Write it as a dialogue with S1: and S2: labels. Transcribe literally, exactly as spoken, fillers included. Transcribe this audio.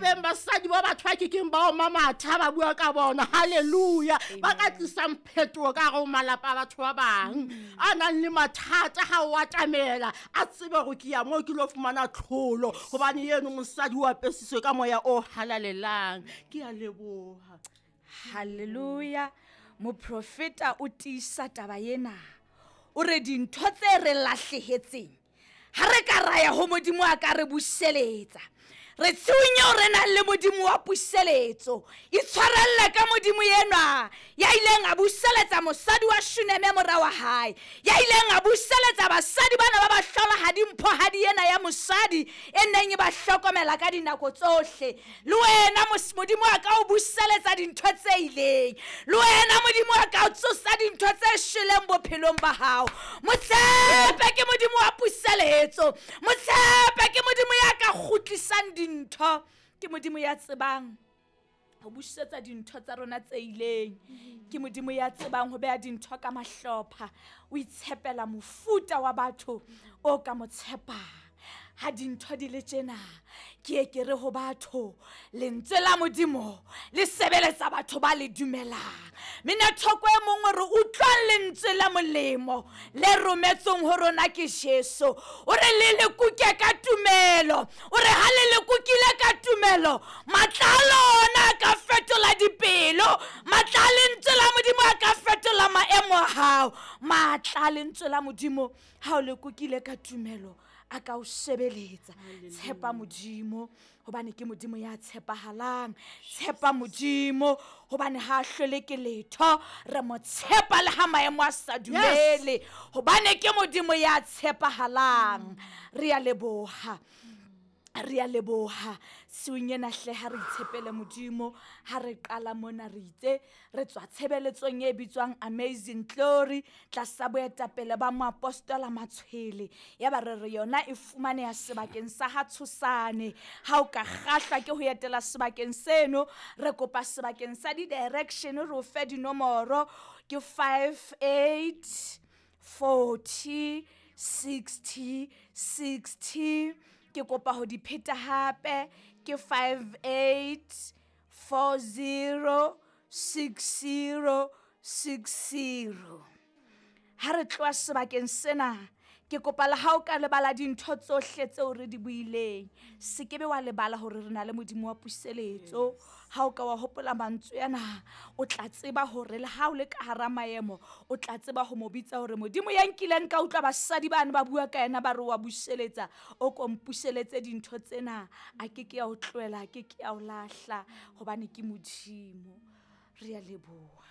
S1: beng basadi ba batho ba kekeng ba oma matha ba bua ka bona. Hallelujah. Ba ka tlisang phetoho ka hare ho malapa a batho ba bang. A nang le mathata ha o atamela, a tsebe hore ke ya moo ke lo fumana tlholo, hobane eno mosadi o apesitswe ka moya o halalelang. Ke a leboha.
S2: Hallelujah. Moprofeta o tiisa taba ena. O re dintho tse re lahlehetseng ha re ka ra ya ho Modimo a ka re buseletsa. Re tshiung eo re nang le Modimo wa puseletso. Itshwarelle ka Modimo enwa ya ileng a buseletsa mosadi wa Shuneme mora wa hae, ya ileng a buseletsa basadi bana ba bahlolohadi mphohadi ena ya mosadi e neng e ba hlokomela ka dinako tsohle. Le wena mos-, Modimo a ka o buseletsa dintho tse ileng. Le wena Modimo a ka o tsosa dintho tse shweleng bophelong ba hao. Motshepe ke Modimo wa puseletso. Motshepe ke Modimo ya ka kgutlisang dintho. Ke Modimo ya tsebang ho busetsa dintho tsa rona tse ileng. Ke Modimo ya tsebang ho beha dintho ka mahlopha. O itshepela mofuta wa batho o ka mo tshepang. Ha dintho di le tjena, ke ye ke re ho batho, lentswe la Modimo le sebeletsa batho ba le dumelang. Minathoko e mongwe re utlwang lentswe la molemo le rometsweng ho rona ke Jesu. O re le le kuke ka tumelo. O re ha le le kukile ka tumelo, matla a lona a ka fetola dipelo. Matla a lentswe la Modimo a ka fetola maemo a hao. Matla a lentswe la Modimo ha o le kukile ka tumelo a ka o sebeletsa. Tshepa Modimo hobane ke Modimo ya tshepahalang. Tshepa Modimo hobane ha a hlole ke letho. Re mo tshepa le ha maemo a sa dumele, hobane ke Modimo ya tshepahalang. Re a leboha. Re a leboha. Tshiung ena hle ha re itshepele Modimo. Ha re qala mona re itse re tswa tshebeletsong e bitswang Amazing Glory tlasa boetapele ba moapostola Matshwele. Ya ba re re yona e fumaneha sebakeng sa ha Tshosane. Ha o ka kgahlwa ke ho etela sebakeng seno, re kopa sebakeng sa di-direction re o fe dinomoro ke five eight forty sixty sixty. Ke kopa ho di pheta hape ke five eight four zero six zero six zero. Ha re tloha sebakeng sena, ke kopa le ha o ka lebala dintho tsohle tseo re di buileng, se ke be wa lebala hore re na le Modimo wa puseletso. Ha o ka wa hopola mantswe ana, o tla tseba hore le ha o le ka hara maemo, o tla tseba ho mo bitsa hore Modimo ya nkileng ka utlwa basadi bane ba bua ka yena ba re wa buseletsa, o ko mpuseletse dintho tsena, a ke ke ya o tlohela, a ke ke ya o lahla, hobane ke Modimo. Re a leboha.